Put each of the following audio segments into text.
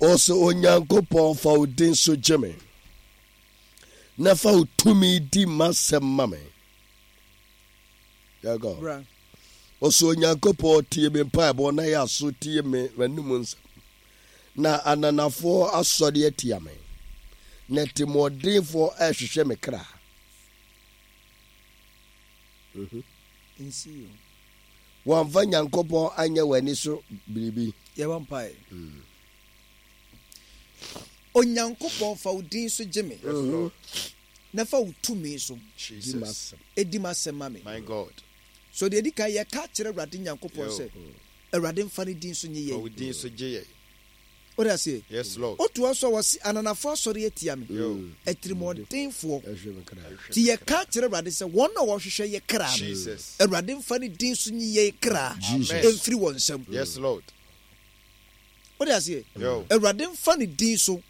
Ɔsɛ Onyankopɔn fa wo din so gye me, na fa wo tumi di m'asɛm ma me. Yɛkɔ. Bra. Ɔsɛ Onyankopɔn tie me mpaebɔ na yɛ aso tie me m'anom nsɛm. Na ananafoɔ asɔre atia me, na atirimuɔdenfoɔ rehwehwɛ me kra. Mhm. Nsi o. Wɔamfa Nyankopɔn anyɛ wɔn ani so biribi. Yɛbɔ mpae. Onyankopɔn, fa wo din so gye me. Na fa wo tumi so di m'asɛm ma me. My God. So deɛ ɛdi kan yɛka kyerɛ Awurade Nyankopɔn sɛ Awurade mfa ne din so nye Fa wo yɛn. din so gye yɛn. Wode aseɛ? Yes, Lord. Wotoa so a wɔse ananafoɔ asɔre atia me, atirimuɔdenfoɔ. Nti yɛka kyerɛ Awurade sɛ wɔn a wɔhwehwɛ yɛ kra no, Jesus. Awurade mfa ne din so nyi yɛn kra Amen. mfiri wɔn nsam. Yes, Lord. Wode aseɛ? Yo. Awurade mfa ne din so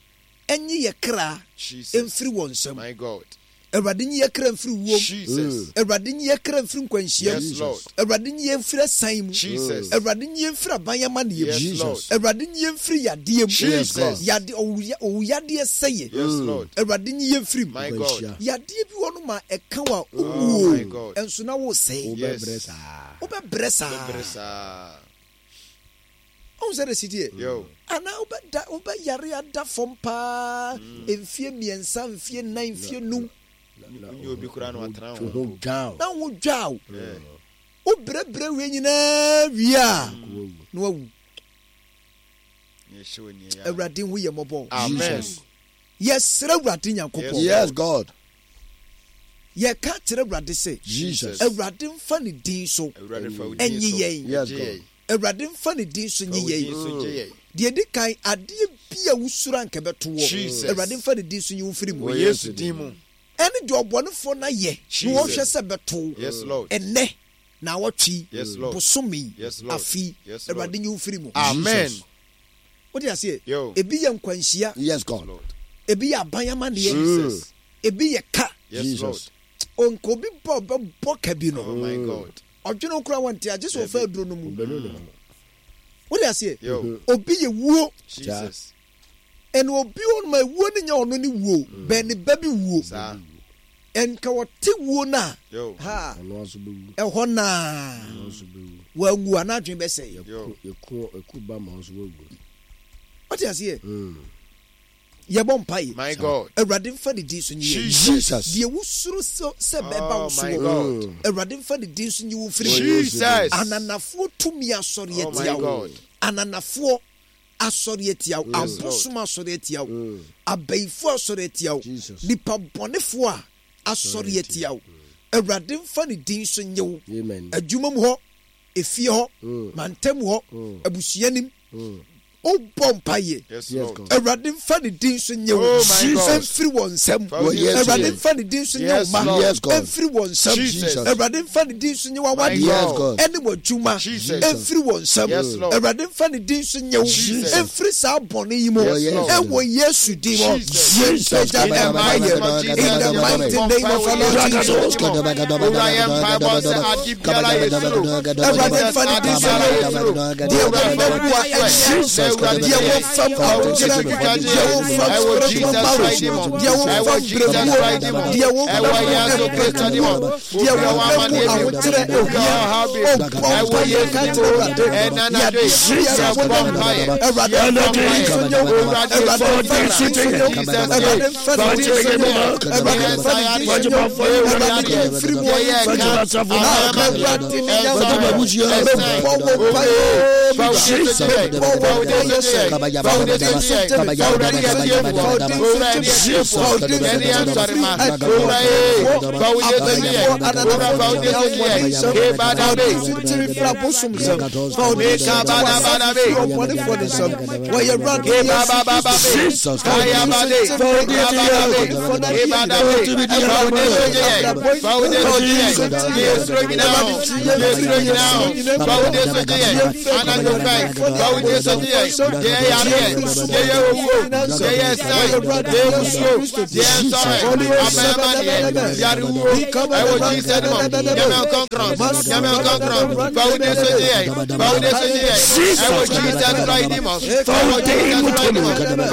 nyi yɛ kra Jesus. mfiri wɔn nsam. My God. Awurade nyi yɛ kra mfiri wuo mu. Jesus. Awurade nyi yɛ kra mfiri nkwanhyia mu. Yes, Lord. Awurade nyi yɛn mfiri asiane mu. Jesus. Awurade nyi yɛn mfiri aban amanneɛ mu. Yes, Lord. Awurade nyi yɛn mfiri yadeɛ mu. Jesus. Yade, owu, owuyadeɛ sɛeɛ. Yes, Lord. Awurade nyi yɛn mfiri mu. My God. Yadeɛ bi wɔ no ma ɛka wo a Oh, wowuo, my God. nso na woresɛe. Yes. Wobɛbrɛ saa. Wobɛbrɛ saa. Wobɛbrɛ saa. Wohu sɛ de si teɛ? Yo. Anaa wobɛda, wobɛyare ada fam paa mfie mmiɛnsa, mfie nnan, mfie num. Wonyɛ obi koraa na watena Wo ho ho mpo. dwa wo. Na wo dwa wo. Yeah. Wobrɛbrɛ wie nyinaa wie a, na wawu. Na ɛhyɛ wɔ nea ɛyɛ a. Awurade hu yɛ mmɔbɔ. Amen. Jesus. Yɛsrɛ Awurade Nyankopɔn. Yes, God. Yɛka kyerɛ Awurade sɛ, Jesus. Awurade mfa ne din so Awurade fa wo din ɛnye so yɛn. Yes, gye God. yɛn. Awurade mfa ne din so Fa nye wo din yɛn. so gye yɛn. Deɛ ɛdi kan, adeɛ bi a wosuro anka ɛbɛto woɔ, Jesus. Awurade mfa ne din so nyi wo mfiri mu. Wɔ Yesu din mu. Ɛne deɛ ɔbɔnefoɔ no ayɛ na Jesus. wɔhwɛ sɛ ɛbɛto wo Yes, Lord. ɛnnɛ, naawɔtwe yi, Yes, Lord. bosome yi, Yes, Lord. afe yi, Yes, Lord. Awurade nyi wo mfiri mu. Amen. Jesus. Wote aseɛ? Yo. Ebi yɛ nkwanhyia. Yes, God. Lord. Ebi yɛ aban amanneɛ. Jesus. Ebi yɛ ka. Yes, Jesus. Lord. Onka obi bɔ ɔbɛbɔ ka bi no. Oh my God. Ɔdwene wo koraa wɔnte agye sɛ ɔfa aduro no mu. Ɔbɛnu ne ho. Wode aseɛ? Yo. Obi yɛ wuo. Jesus. Ɛna obi wɔ no ma wuo no nyɛ ɔno ne wuo. Bɛn ne ba bi wuo. Saa. Ɛnka wɔte wuo no a. Yo. Ha. Ɔno nso bɛwu. Ɛhɔ naa. Ɔno nso bɛwu. Wanwu a n'adwene bɛsɛe. Yo. Yɛku yɛku ba ma ɔnso wawu. Wote aseɛ? Yɛbɔ mpaeɛ. My God. Awurade mfa ne din so nyi yɛn. Jesus. Deɛ wosuro sɛ sɛ bɛba Oh wo my soɔ. God. Awurade mfa ne din so nyi wo mfiri mu. Jesus. Ananafoɔ tumi asɔre Oh my atia wo. God. Ananafoɔ asɔre atia wo. Yes, Lord. Abosom asɔre atia wo. Abayifoɔ asɔre atia wo. Jesus. Nipa bɔnefoɔ a asɔre atia wo. Awurade mfa ne din so nye wo. Amen. Adwuma mu hɔ, efie hɔ, mantam hɔ, abusua nim. Wobɔ mpaeɛ. Yes, Yes, Lord. God. Awurade mfa ne din so nye wo. Oh my God. Mfiri wɔn nsam. Fa wo din so Awurade nye. mfa ne din so nye wo Yes, mma. Lord. Yes, God. Mfiri wɔn nsam. Jesus. Awurade mfa ne din so nye My w'awadeɛ. Yes, God. God. Ɛne w'adwuma. Jesus. Mfiri wɔn nsam. Yes, Lord. Awurade mfa ne din so nye wo. Jesus. Mfiri saa bɔne yi mu. Yes, Lord. Ɛwɔ Yesu din mu. Jesus. Yɛmpagya In the mighty mpaeɛ. name of Jesus, In the mighty name of our Lord Jesus. Awurade mfa ne din so nye wo. Deɛ wɔn bɛbu a ɛnyɛ. Deɛ wɔfam ahokyerɛ, deɛ wɔfam spiritual marriage, deɛ wɔfam brɛmuo, deɛ wɔfam mpɛtuo, deɛ wɔfam ahokyerɛ ohia, ɔbɔ mpaeɛ ka kyerɛ Awurade, yadeɛ biara wɔnam mu, Awurade mfa ne din so nye wo, Awurade mfa ne din so nye wo, Awurade mfa ne din so nye wo, Awurade mfa ne din so nye wo, Awurade yi mfiri mu, ɔyi mfiri mu, Awurade ne Nyankopɔn, mebɔ wo mpaeɛ, mebɔ wo mpaeɛ sɛ, fa wo din so gye me, fa wo din so gye me, fa wo din so gye me, fa wo din so gye me firi aduafoɔ, abayifoɔ, ananafoɔ tumi ahomɔden nsam, fa wo din so gye me firi abosom nsam, fa wo din so gye w'asafo firi ɔbɔnefoɔ ne nsam, wɔ yɛn Awurade Yesu Kristo din, fa wo din so gye me firi ɔbɔnefoɔ no adeɛ nyinaa, Awurade abrabɔ yi, fa wo din so gye me, Awurade gye yɛn firi yɛn suro nyinaa mu, gye yɛn firi ɔbɔnefoɔ ne abosomfoɔ Deɛ ɛyɛ yareɛ, deɛ ɛyɛ owuo, deɛ ɛyɛ ɛsan, deɛ ɛyɛ musuo, deɛ ɛyɛ nsɔhwɛ, aban amaneɛ, yarewuo, ɛwɔ Jesus mu. Nyame nkronkron, Nyame nkronkron, fa wo din so gye yɛn, fa wo din so gye yɛn, ɛwɔ Jesus Christ din mu, ɛwɔ Jesus Christ din mu.